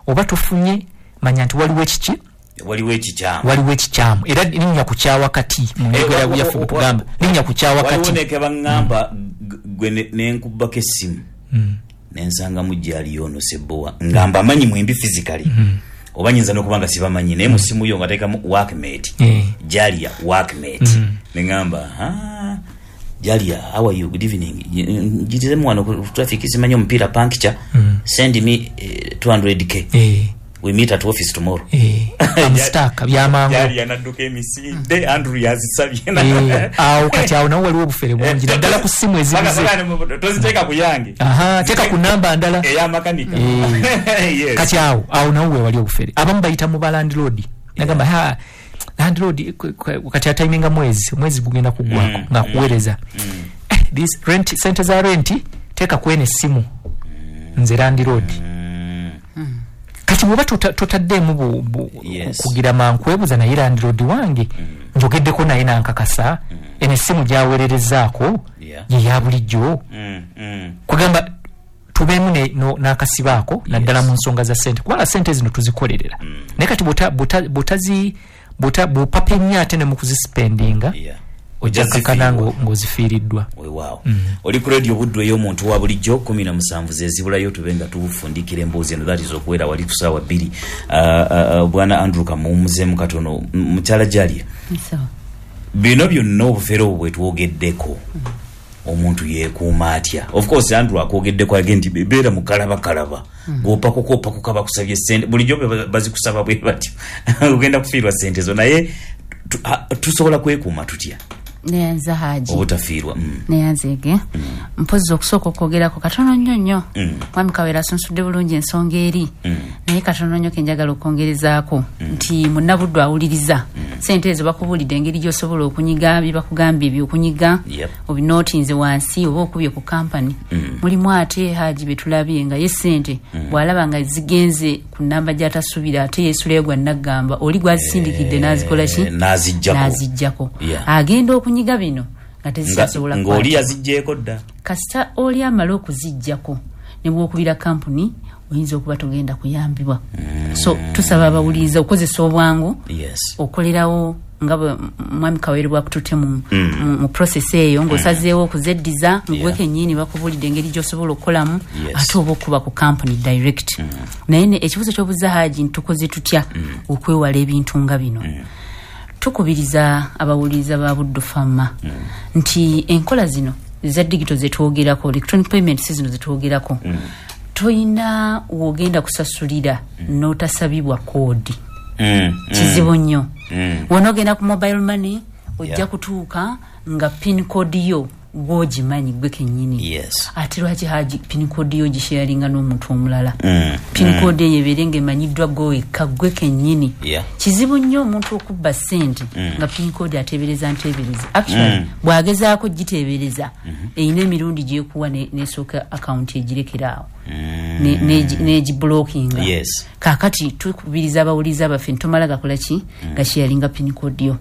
Oba tofunye, manya nti waliwo ekiki, waliwo ekikyamu, waliwo ekikyamu. Era linnya ku kyawakati mu njogera yaffe bwe tugamba linnya ku kyawakati. Waliwo neke baŋŋamba gwe nenkubbako essimu nensangamu gyaliyo ono Ssebowa nga mbamanyi mwembi physically, oba nyinza n'okuba nga sibamanyi, naye mu ssimu yo nga teekamu workmate, Jalia workmate, neŋŋamba, "Ah, Jalia, how are you? Good evening. Njitiremu wano ku traffic, simanyi omupiira puncture, send me 200K. We meet at office tomorrow." I'm stuck, byamangu. Jalia nadduka emisinde, Andrew yazisabye. Awo kati awo nawo waliwo obufere bungi, naddala ku ssimu ezibuze. Toziteeka ku yange. Aha, teeka ku namba ndala. Eyamakanika. Yes. Kati awo nawo wewali obufere. Abamu bayita mu ba landlord, nagamba, "Ha, landlord," kati atayiminga mwezi, omwezi gugenda kuggwako, ng'akuweereza, "This rent, sente za rent teeka kweno essimu, nze landlord." Kati bwoba totaddeemu kugira mankwebuza, naye landlord wange njogeddeko naye nankakasa eno essimu gyaweererezaako ye ya bulijjo. Kugamba tubeemu n'akasibaako, naddala mu nsonga za ssente, kubanga ssente zino tuzikolerera, naye kati bw'opapa ennyo ate ne mu kuzisipendinga, ojja kakana ng'ozifiiriddwa. Weewaawo. Oli ku Radio Buddu ey'omuntu wa bulijjo, 17 zezibulayo tube nga tufundikira emboozi eno, that is okuwera wali ku saawa 2. Bwana Andrew kamuwumuzeemu katono. Mukyala Jalia, bino byonna obufere obwo bwe twogeddeko, omuntu yeekuuma atya? Of course Andrew akwogeddeko age nti beera mukalabakalaba, gwopakuka opakuka bakusabye sente, bulijjo bazikusaba bwe batyo, ogenda kufiirwa sente zo, naye tusobola kwekuuma tutya Neyanza, Haji. obutafiirwa? Neyanzege. Mpozi okusooka okwogerako katono nnyo nnyo, Mwami Kawera asunsudde bulungi ensonga eri, naye katono nnyo kenjagala okwongerezaako nti munnabuddu awuliriza, sente ezo bakubuulidde engeri gy'osobola okunyiga bye bakugambye ebyokunyiga, obinootinze wansi oba okubye ku kampani. Mulimu ate, Haji, betulabye nga ye sente bw'alaba nga zigenze ku namba gy'atasuubira, ate yeesulayo gwa naggamba oli gwazisindikidde n'azikola ki? N'aziggyako. N'aziggyako. Agenda okunyiga bino nga tezikyasobola Ng'oli kukwatibwa. yaziggyeko dda. Kasita oli amala okuziggyako, ne bwokubira kampuni oyinza okuba togenda kuyambibwa. So tusaba abawuliriza okukozesa obwangu, okolerawo nga bwe mwami Kawere bwakututte mu process eyo ng'osazeewo okuzeddiza ngwe kennyini, bakubuulidde engeri gy'osobola okukolamu, ate oba okuba ku company direct. Naye ekibuzo ky'obuza, Haji, nti tukoze tutya okwewala ebintu nga bino, tukubiriza abawuliriza ba Buddu Fama nti enkola zino eza digital zetwogerako, electronic payments zino zetwogerako, toyina wogenda kusasulira n'otasabibwa koodi. Kizibu nnyo. Wonogenda ku mobile money, ojja kutuuka nga pin code yo gwogimanyi gwe kennyini. Ate lwaki, Haji, pin code yo gisharinga n'omuntu omulala? Pin code eyo ebeere ng'emanyiddwa gwe wekka, gwe kennyini. Kizibu nnyo omuntu okubba ssente nga pin code ateebereza nteebereza. Actually, bw'agezaako giteebereza, erina emirundi gyekuwa nesooka akawunti egirekera awo, negiblockinga. Kaakati tukubiriza abawuliriza baffe ntomala gakola ki, gasharinga pin code yo.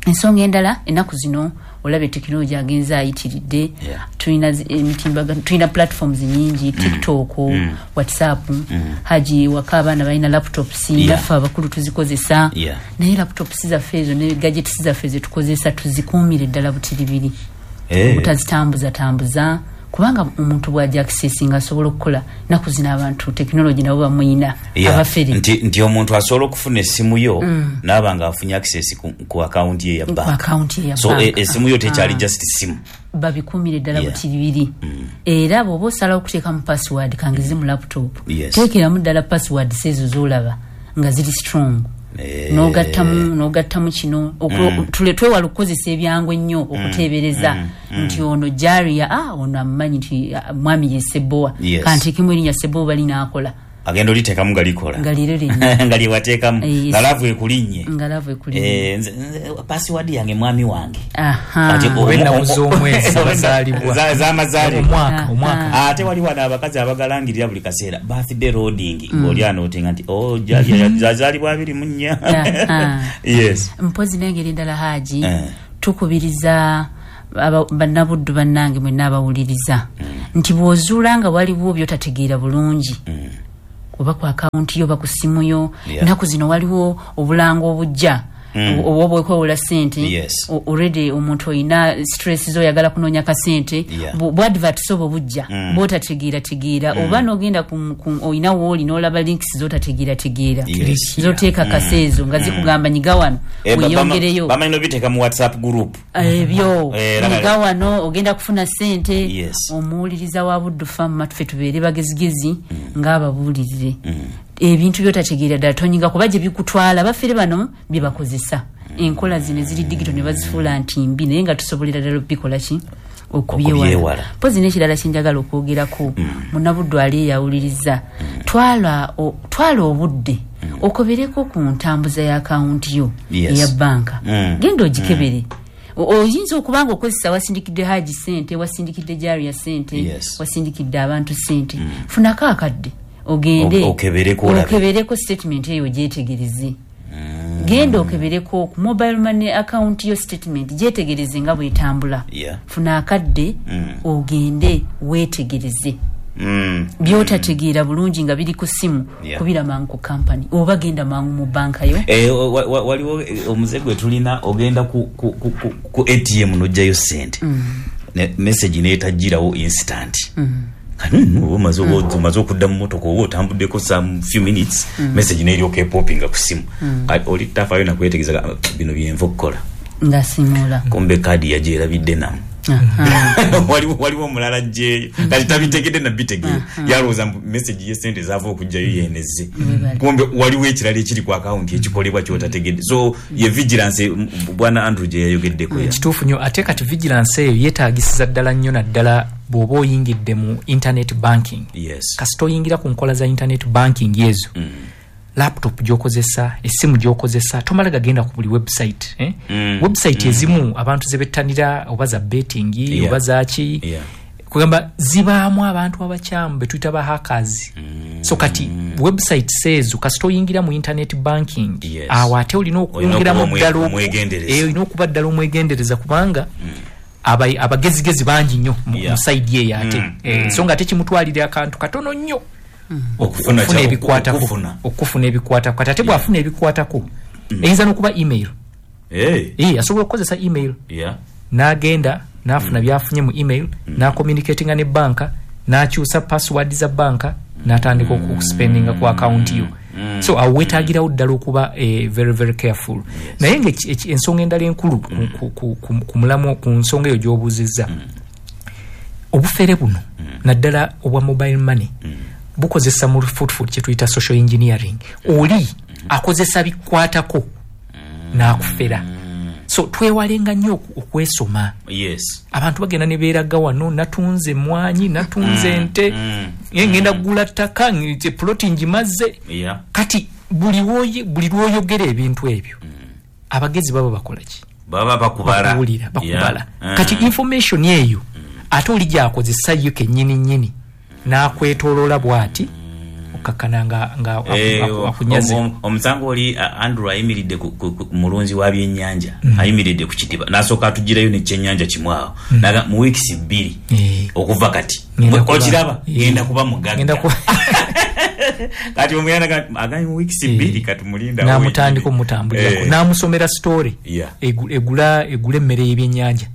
Ensonga endala, ennaku zino olaba tekinologi agenze ayitiridde. Tulina emitimbagano, tulina platforms nyingi, TikTok, WhatsApp. Haji, waka abaana balina laptops, naffe abakulu tuzikozesa, naye laptops zaffe ezo ne gadgets zaffe zetukozesa tuzikuumire ddala butiribiri, obutazitambuza tambuza, kubanga omuntu bw'ajja accessinga asobola okukola. Naku zino abantu tekinologi nabo bamuyina, abafere. Nti omuntu asobola okufuna essimu yo naaba nga afunye access ku akawunti ye ya Ku bank. akawunti ye ya So bank. Essimu yo tekyali just simu. Babikuumire ddala butiribiri. Era bw'oba osalawo okuteekamu password, kangeze mu laptop, teekeramu ddala password ezo z'olaba nga ziri strong, n'ogattamu kino. Twewala okukozesa ebyangu ennyo okuteebereza nti ono Jaria, ono amumanyi nti mwami ye Sebowa, kanteekemu erinnya Sebowa balinaakola. Agenda oliteekamu nga likola. Nga liro linnya. Nga lyewateekamu. Nga laavu ekulinnye. Nga laavu ekulinnye. Nze password yange mwami wange. Aha. Kati Oba ennaku z'omwezi bazaalibwa. Z'amazaalibwa. Omwaka, omwaka. Ate wali wano abakazi abagalangirira buli kaseera, birthday loading, ng'oli anootinga nti, "Oh, Jalia yazaalibwa 24." Yes. Mpozi n'engeri endala, Haji, tukubiriza bannabuddu bannange mwenna abawuliriza nti bw'ozuula nga waliwo byotategeera bulungi, Oba ku akawunti yo, oba ku simu yo. Ennaku zino waliwo obulango obujja oba obwekwewola sente. Already omuntu olina stress zoyagala kunoonya kasente, bwadverts obwo bujja bwotategeera oba nogenda olina wooli n'olaba links zotategeerategeera zoteeka kaseezo nga zikugamba nyiga wano weyongereyo. Bamanyi nobiteeka mu WhatsApp group ebyo, nyiga wano ogenda kufuna sente. Omuwuliriza wa Buddu Fama, tufe tubeere bagezigezi ng'ababuulirire ebintu byotategeera ddala tonyiga, kuba gye bikutwala bafere bano bye bakozesa enkola zino eziri digital ne bazifuula nti mbi, naye nga tusobolera ddala okubikola ki, okubyewala. Mpozi n'ekirala kyenjagala okwogerako, munnabuddu ali eyawuliriza, twala obudde okobereko ku ntambuza ya akawunti yo eya banka. Genda ogikebere. Oyinza okuba nga okozesa, wasindikidde Haji sente, wasindikidde Jaria sente, wasindikidde abantu sente. Funako akadde ogende okebereko statement eyo ogyetegereze. Genda okebereko ku mobile money account yo statement gyetegereze nga bwetambula. Funa akadde ogende weetegereze. Byotategeera bulungi nga biri ku simu, kubira mangu ku company oba genda mangu mu banka yo. Waliwo omuze gwe tulina, ogenda ku ATM n'oggyayo sente, message neetajjirawo instant. Omaze okudda mu motoka oba otambuddeko some few minutes, message neryoka epopinga ku simu. Oli tafaayo nakwetegereza, bino byenva okukola nga simula, kumbe kaadi yagyerabidde namu. Waliwo omulala ajjeeyo kati tabitegedde nabitegeera, yalowooza message yesente zaava okugjayo yeneze, kumbe waliwo ekirala ekiri ku akawunti ekikolebwa kyotategedde. So ye vigilance bwana Andrew gye yayogeddeko. Kituufu nnyo. Ate kati vigilance eyo yeetagisiza ddala nnyo, naddala bw'oba oyingidde mu internet banking. Kasita oyingira ku nkola za internet banking ezo, laptop gyokozesa, essimu gyokozesa, tomala gagenda ku buli website. Website ezimu abantu zebettanira, oba za betting, oba zaki, kugamba zibaamu abantu abakyamu betuyita ba hackers. So kati website ezo kasita oyingira mu internet banking, awo ate olina okwongeramu ddala, olina okuba ddala omwegendereza, kubanga abagezigezi bangi nnyo mu side eyo ate. So nga ate kimutwalira akantu katono nnyo okufuna ebikwatako, okufuna ebikwatako. Kati ate bw'afuna ebikwatako, eyinza n'okuba email. Asobola okukozesa email n'agenda n'afuna byafunye mu email, n'acommunicatinga ne banka, n'akyusa password za banka, n'atandika okuspendinga ku account yo. So awo weetagirawo ddala okuba very very careful. Naye nga ensonga endala enkulu ku mulamu, ku nsonga eyo gy'obuuzizza, obufere buno naddala obwa mobile money bukozesa mu lufuutufuutu kye tuyita social engineering. Oli akozesa bikwatako n'akufera. So twewalenga nnyo okwesoma. Abantu bagenda ne beeraga wano, natunze emwanyi, natunze ente, ngenda kugula ttaka, ploti ngimaze. Kati buli lw'oyogera ebintu ebyo, abagezi baba bakola ki? Baba bakubala. Bakubala. Kati information eyo ate oli gy'akozesa yo kennyini nnyini n'akwetooloola bw'ati okkakkana nga akunyaze. Omusango oli Andrew ayimiridde ku mulunzi wa byennyanja, ayimiridde ku kidiba, n'asooka atugirayo n'ekyennyanja kimu awo, mu wiikisi 2 okuva kati okiraba ngenda kuba mugagga. Kati omuyana agambye mu wiikisi 2 kati mulinda, n'amutandika omutambulirako, n'amusomera story egula emmere y'ebyennyanja,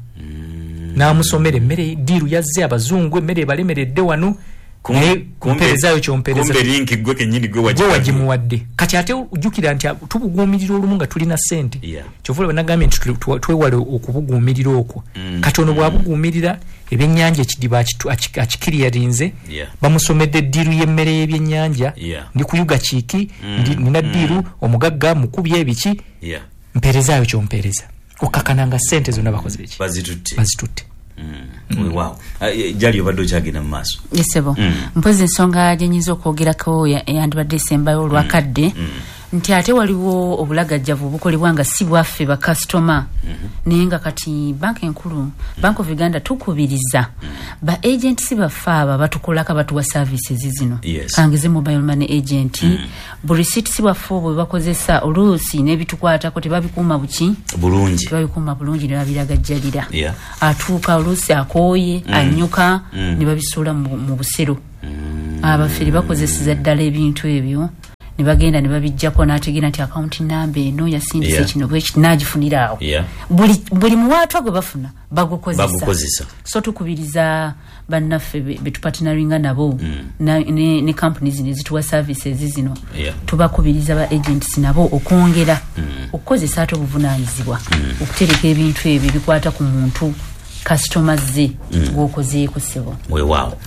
n'amusomera emmere diiru yazze abazungu, emmere ebalemeredde wano, kumperezayo kyompereza, kumbe link gwe kennyini gwe wagimuwadde. Kati ate ojjukira nti tubuguumirira olumu nga tulina ssente, kyova olaba nagambye nti twewale okubuguumirira okwo. Kati ono bw'abuguumirira ebyennyanja ekidiba akikiriyarinze, bamusomedde eddiiru y'emmere y'ebyennyanja, ndi kuyuga kiiki, nina ddiiru, omugagga mukubye ebiki, mpeerezaayo kyompeereza, okkakkana nga ssente zonna bakoze eki, bazitutte. Weewaawo Jali obadde okyagenda mu maaso. Yesebo, mpozi ensonga gye nnyinza okwogerako yandibadde esembayo olwakadde, nti ate waliwo obulagajjavu obukolebwa nga si bwaffe bakasitoma, naye nga kati banka enkulu, Bank of Uganda, tukubiriza ba agents baffe abo batukolako, batuwa services zino. Kangeze mobile money agent, bu receipts bwaffe obwo bakozesa oluusi n'ebitukwatako tebabikuuma buki bulungi, tebabikuuma bulungi ne babiragajjalira. Atuuka oluusi akooye, anyuka, ne babisuula mu busero. Abafere bakozeseza ddala ebintu ebyo ne bagenda ne babijjako, n'ategeera nti akawunti namba eno yasindise kino bwekiti, n'agifunira awo. Buli muwaatwa gwe bafuna bagukozesa. So tukubiriza bannaffe betupartneringa nabo ne companies zino ezituwa services zino, tubakubiriza ba agents nabo okwongera okukozesa ate obuvunaanyizibwa okutereka ebintu ebyo bikwata ku muntu customer ze gwokozeeko ssebo. Weewaawo,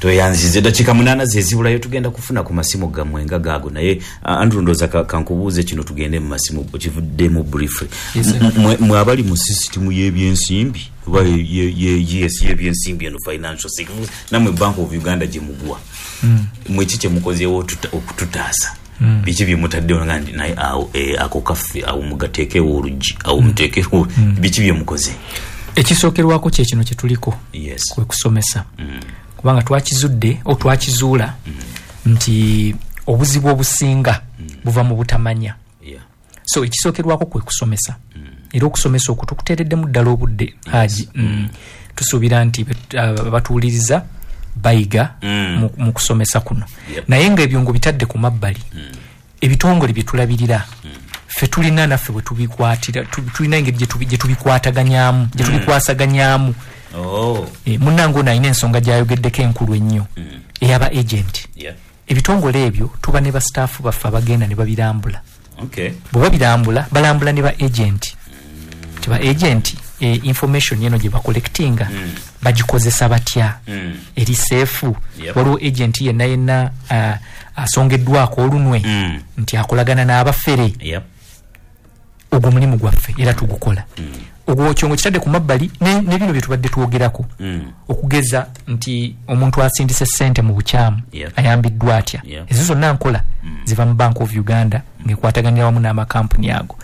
tweyanzize. Dakiika 8 zezibulayo, tugenda kufuna ku masimu gammwe nga gaago. Naye Andrew, ndowooza kankubuuze kino, tugende mu masimu kivuddemu briefly. Mwe abali mu sisitimu y'ebyensimbi oba yes, y'ebyensimbi eno, financial sector, nammwe Bank of Uganda gye mugwa, mwe ki kye mukozeewo okututaasa? Biki bye mutaddewo nga nti naye awo ako kaffe, awo mugateekewo oluggi, awo muteekewo? Biki bye mukoze? Ekisookerwako kye kino kye tuliko, kwe kusomesa, kubanga twakizudde o twakizuula nti obuzibu obusinga buva mu butamanya. So ekisookerwako kwe kusomesa, era okusomesa okwo tukuteereddemu ddala obudde, Haji. Tusuubira nti batuwuliriza bayiga mu kusomesa kuno. Naye nga ebyo ng'obitadde ku mabbali, ebitongole bye tulabirira ffe tulina naffe bwe tubikwatira, tulina engeri gye tubikwataganyaamu, gye tubikwasaganyaamu. Munnange ono alina ensonga gy'ayogeddeko enkulu ennyo eyaba agent. Ebitongole ebyo tuba ne basitaafu baffe abagenda ne babirambula. Bwe babirambula, balambula ne ba agent. Tiba agent information eno gye bacollectinga bagikozesa batya? Eri safe? Waliwo agent yenna yenna asongeddwako olunwe nti akolagana n'abafere? Ogwo mulimu gwaffe era tugukola. Ogwo kyongo kitadde ku mabbali ne bino bye tubadde twogerako, okugeza nti omuntu asindise ssente mu bukyamu ayambiddwa atya. Ezo zonna nkola ziva mu Bank of Uganda ng'ekwataganira wamu n'amakampuni ago.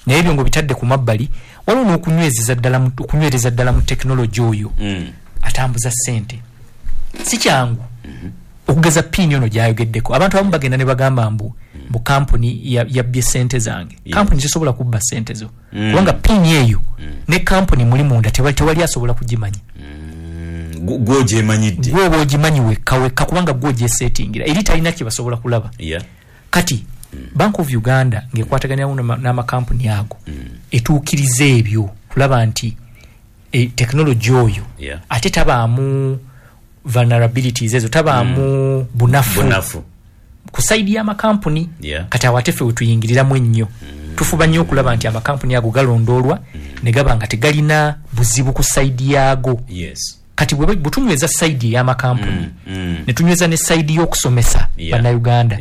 Naye ebyo ng'obitadde ku mabbali, waliwo n'okunywezeza ddala okunywereza ddala mu tekinologi oyo atambuza ssente. Si kyangu. Okugeza PIN ono gy'ayogeddeko, abantu abamu bagenda ne bagamba mbu kampuni yabbye ssente zange. Kampuni tesobola kubba ssente zo, kubanga PIN eyo ne kampuni muli munda tewali asobola kugimanya. Gwogyemanyidde. Gwe oba ogimanyi wekka wekka, kubanga gwe ogyesetingira eri, talina kye basobola kulaba. Kati Bank of Uganda ng'ekwataganira wamu n'amakampuni ago etuukiriza ebyo kulaba nti tekinologi oyo ate tabaamu vulnerabilities ezo, tabaamu bunafu bunafu ku side y'amakampuni. Kati awo ate ffe wetuyingiriramu ennyo. Tufuba nnyo okulaba nti amakampuni ago galondoolwa ne gaba nga tegalina buzibu ku side yaago. Kati bwe tunyweza side ey'amakampuni, ne tunyweza ne side y'okusomesa bannayuganda,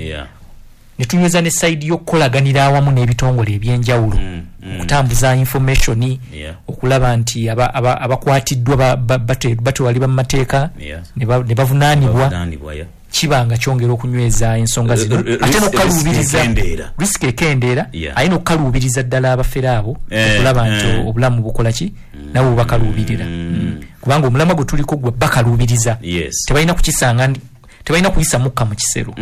ne tunyweza ne side y'okukolaganira awamu n'ebitongole ebyenjawulo okutambuza information, okulaba nti abakwatiddwa batwalibwa mu mateeka ne bavunaanibwa, Bavunaanibwa, yeah. kiba nga kyongera okunyweza ensonga zino, ate n'okukaluubiriza risk ekendeera. Risk ekendeera, ate n'okukaluubiriza ddala abafere abo okulaba nti obulamu bukola ki, nabo bubakaluubirira. Kubanga omulamwa gwe tuliko gwe bakaluubiriza. Tebalina kukisanga, tebalina kuyisa mukka mu kisero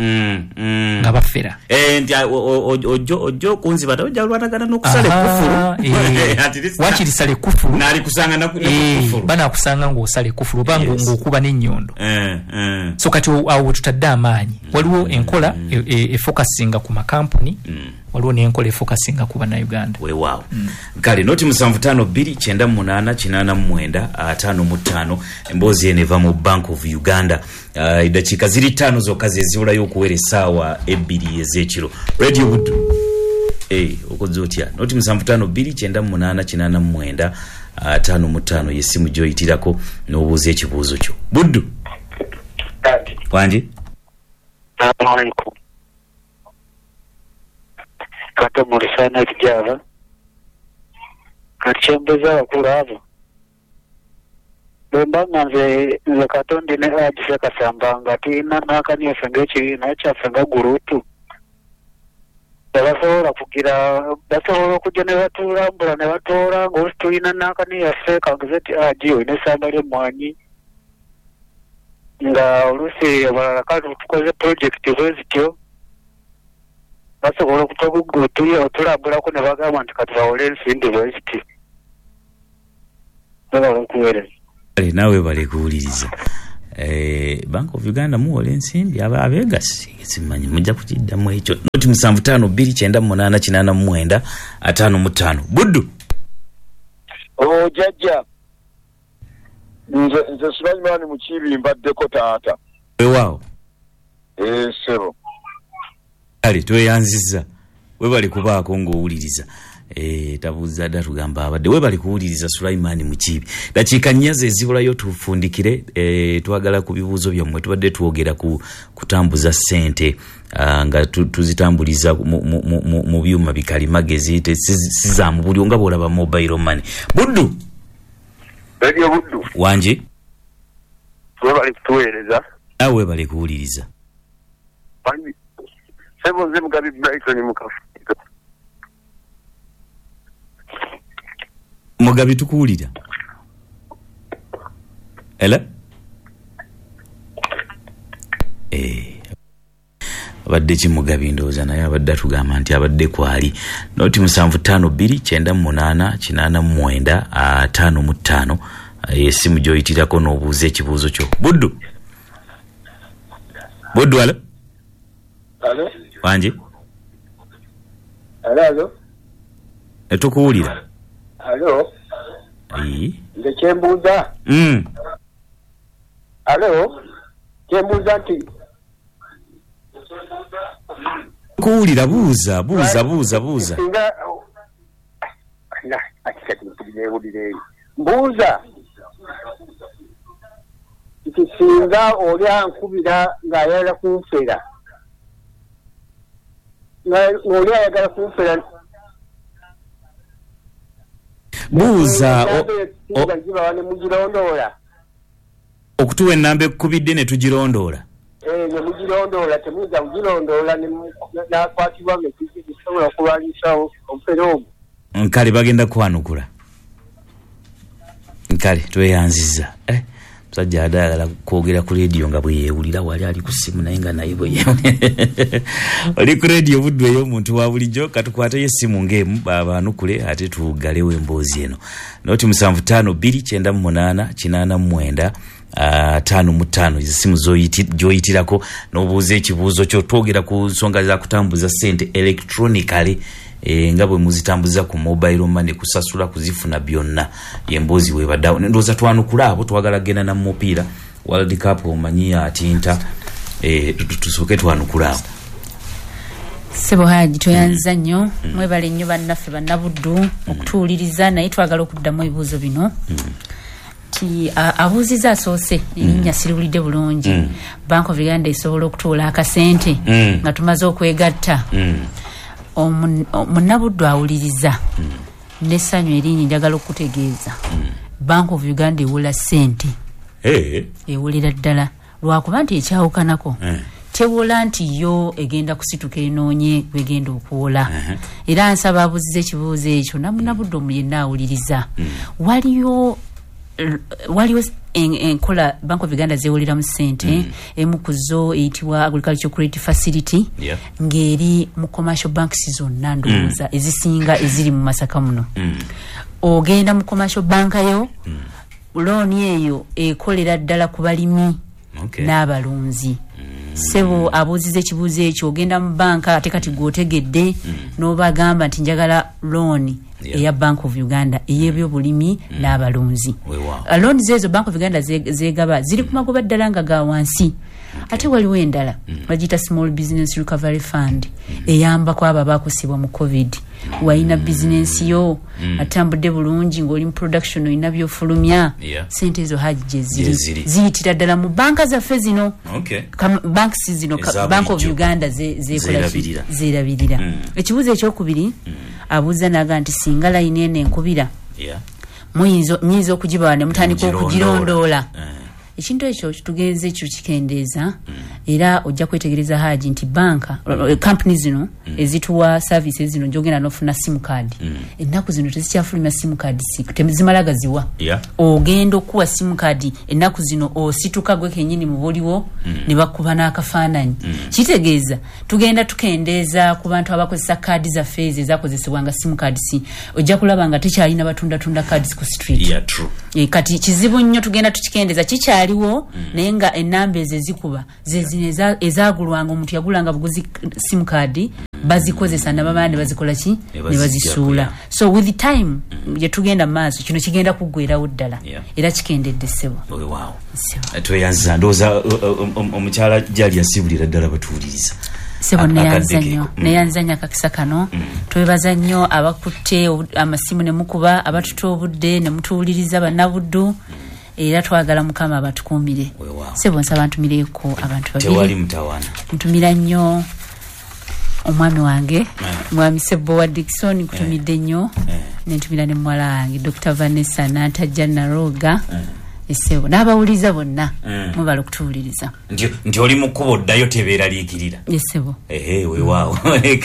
nga bafera. Nti, ojjo okunziba, ojja lwanagana n'okusala ekufulu. At least Wakiri sala ekufulu. Nalikusanga na kufulu. Banaakusanga ng'osala ekufulu oba ng'okuba n'ennyondo. So kati awo we tutadde amaanyi, waliwo enkola efokasinga ku makampuni, waliwo n'enkola efokasinga ku bannayuganda. Weewaawo. Kale noti 752 98 89 55. Emboozi eno eva mu Bank of Uganda. Eddakiika ziri 5 zokka zezibulayo okuwera essaawa 2 ez'ekiro. Radio Buddu. Okoze otya? Noti 752 98 89 55 yesimu gyoyitirako n'obuuza ekibuuzo kyo. Buddu. Kati. Wangi. Assalamu alaikum. Kata mulisana ekijaba. Kati kyembuuza abakulu abo. Bwe mba nga nze Katondi ne Haji Kasamba nga tulina n'akani yaffe ng'ekibiina kyaffe nga gurupu. Tebasobola kugira, basobola okujja ne batulambula ne batoola ng'oluusi tulina n'akani yaffe, kangeze nti Haji olina essamba ly'emmwanyi, nga oluusi abalala kale tukoze pulojekiti bwe zityo, basobola otulambulako ne bagamba nti katubawole ensimbi bwe ziti. Babala okuweereza. Kale naawe bale kuwuliriza. Bank of Uganda muwola ensimbi abeegasi, simanyi mujja kukiddamu ekyo. Noti 7 5 2 98 89 55. Buddu. O jajja, nze Sulaiman Mukiibi, mbaddeko taata. Weewaawo. Ssebo. Kale tweyanzizza, webale kubaako ng'owuliriza. Tabuuza dda, tugamba abadde. Webale kuwuliriza, Sulaiman Mukiibi. Dakiika 4 ze zibulayo tufundikire. Twagala ku bibuuzo byammwe. Tubadde twogera ku kutambuza ssente, nga tuzitambuliza mu byuma bikalimagezi, si za mu bulyo nga bw'olaba mobile money. Buddu. Radio Buddu. Wangi. Webale kutuweereza. Awe webale kuwuliriza. Ssebo, nze Mugabi Brighton Mukafu. Mugabi, tukuwulira. Ela abadde ki Mugabi? Ndowooza naye abadde atugamba nti abadde kwali. Noti 7 5 2 98 89 55, esimu gyoyitirako n'obuuza ekibuuzo kyo. Buddu, Buddu, alo. Alo? Wangi. Alo, alo. Tukuwulira. Alo? Nze kyembuuza. Alo? Kyembuuza nti Kuwulira, buuza, buuza, buuza, buuza. Singa na ati kati mpulire eyo. Mbuuza nti singa oli ankubira ng'ayagala kunfera, ng'oli ayagala kunfera. Buuza. Zibawa ne mugirondoola. Okutuwa ennamba ekkubidde ne tugirondoola. Ne mugirondoola, temuyinza kugirondoola n'akwatibwa ng'ekisobola okulwanyisa omufere ogwo. Nkale bagenda kwanukula. Nkale tweyanzizza. Musajja adde ayagala kwogera ku rediyo nga bwe yeewulira, wali ali ku ssimu naye nga naye bwe yeewulira. Oli ku rediyo Buddu ey'omuntu wa bulijjo. Katukwateyo essimu ng'emu baanukule ate tuggalewo emboozi eno. Noti 7 5 2 98 89 55, essimu gy'oyitirako n'obuuza ekibuuzo kyo. Twogera ku nsonga za kutambuza ssente electronically, nga bwe muzitambuza ku mobile money, kusasula, kuzifuna, byonna yemboozi webaddawo. Ndowooza twanukula abo. Twagala genda na mupiira World Cup, omanyi atinta. Tusooke twanukula abo. Ssebo Haji, toyanza nnyo. Mwebale nnyo bannaffe bannabuddu okutuwuliriza, naye twagala okuddamu ebibuuzo bino. Ti abuuziza asoose, erinnya siriwulidde bulungi, Bank of Uganda esobola okutuwola akasente nga tumaze okwegatta? Munnabuddu awuliriza, nessanyu erinnya njagala okutegeeza, Bank of Uganda ewola ssente. Ewolera ddala, lwakuba nti ekyawukanako, tewola nti yo egenda kusituka enoonye gwegenda okuwola. Era nsaba abuuziza ekibuuzo ekyo namunabudde omu yenna awuliriza, waliwo enkola Bank of Uganda zewoleramu ssente. Emu ku zo eyitibwa Agriculture Credit Facility, ng'eri mu commercial banks zonna, ndowooza ezisinga eziri mu Masaka muno. Ogenda mu commercial bank yo, looni eyo ekolera ddala ku balimi n'abalunzi. Sebo abuuziza ekibuuzo ekyo, ogenda mu banka, ate kati gweotegedde, n'obagamba nti njagala looni eya Bank of Uganda ey'ebyobulimi n'abalunzi. Looni zeezo Bank of Uganda zegaba ziri ku magoba ddala nga ga wansi. Ate waliwo endala bagiyita Small Business Recovery Fund, eyambako abo abakosebwa mu COVID. Walina bizinensi yo atambudde bulungi, ng'oli mu production, olina byofulumya, sente ezo Haji gyeziri, Gyeziri. ziyitira ddala mu banka zaffe zino, banks zino Eza Bank of bulijjo. Uganda zekola ki? Zeerabirira. Zeerabirira. Ekibuuzo ekyokubiri abuuza naga nti singa layini eno enkubira, nyinza okugibawa ne mutandika Mugirondoola. okugirondoola? Ekintu ekyo tugenze ekyo kikendeeza, era ojja kwetegereza Haji nti banka, kampuni zino ezituwa services zino gyogenda nofuna sim card, ennaku zino tezikyafulumya sim card, tezimala gaziwa. Ogenda okuwa sim card ennaku zino osituka gwe kenyini mu buliwo ne bakuba n'akafaananyi. Kitegeeza tugenda tukendeeza ku bantu abakozesa kaadi zaffe ezo ezakozesebwanga sim cards. Ojja kulaba nga tekyalina batundatunda cards ku street. Yeah, true. Kati kizibu nnyo, tugenda tukikendeeza, kikyaliwo. Bikyaliwo, naye nga enamba ezo ezikuba zezino ezagulwanga, omuntu yagulanga buguzi sim card, bazikozesa nabamala ne bazikola ki, Ne ne bazijjako, bazisuula. So with time gyetugenda mu maaso, kino kigenda kuggwerawo ddala. Era kikendedde, ssebo. Weewaawo. Ssebo. Tweyanziza. Ndowooza omukyala Gyali yasibulira ddala batuwuliriza. Sebo, neyanza Akadde nnyo. keeko. Neyanza nnyo akakisa kano. Twebaza nnyo abakutte amasimu ne mukuba, abatuta obudde ne mutuwuliriza, bannabuddu, era twagala Mukama abatukuumire. Weewaawo. Sebo, nsaba ntumireko abantu Tewali babiri. mutawaana. Ntumira nnyo omwami wange, mwami Sebowa Dikson, nkutumidde nnyo. Nentumira ne muwala wange Dr Vanessa Nantajja Naroga. Esebo, n'abawuliriza bonna, mubala okutuwuliriza. Nti oli mu kkubo ddayo, tebeeraliikirira. Esebo. Ehe, weewaawo.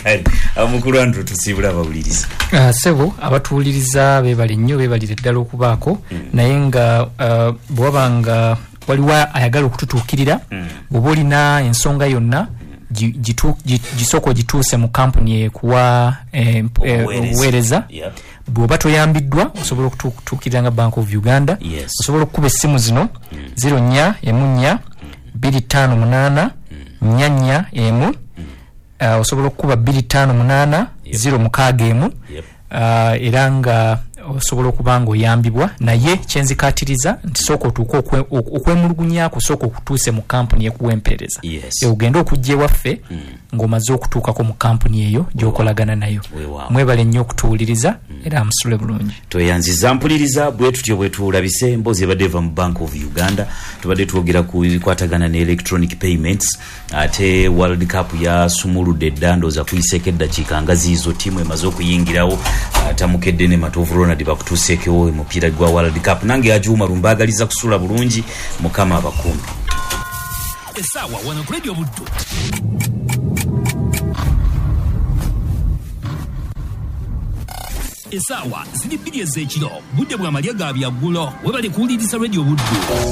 Kale omukulu Andrew, tusiibula abawuliriza. Sebo, abatuwuliriza beebale nnyo, beebalire ddala okubaako. Naye nga bwe waba nga waliwo ayagala okututuukirira, bw'oba olina ensonga yonna, gisooka ogituuse mu kampuni ekuwa Obuweereza. obuweereza. Bw'oba toyambiddwa, osobola okutuukirira nga Bank of Uganda. Osobola okukuba essimu zino: 04 14 258 441. Osobola okukuba 258 061. Era nga osobola okuba nga oyambibwa, naye kyenzikatiriza nti sooka otuuke okwemulugunyaako, sooka okutuuse mu kampuni ekuwa empeereza. Ogende okujja ewaffe ng'omaze okutuukako mu kampuni eyo gy'okolagana nayo. Weewaawo. Mwebale nnyo okutuwuliriza, era musule bulungi. Tweyanziza mpuliriza. Bwe tutyo bwe tulabise emboozi ebadde eva mu Bank of Uganda. Tubadde twogera ku bikwatagana ne electronic payments, ate World Cup yasumuludde dda, ndowooza kuyiseeko eddakiika nga ziizo, ttiimu emaze okuyingirawo. Tamukedde ne Matovu Ronald bakutuuseekewo omupiira gwa World Cup. Nange Ajuuma lumbaagaliza kusula bulungi, Mukama abakuumi. Essaawa wano ku Radio Buddu. Essaawa ziri 2 ez'ekiro, budde bwa malya ga byaggulo. Webale kuwuliriza Radio Buddu.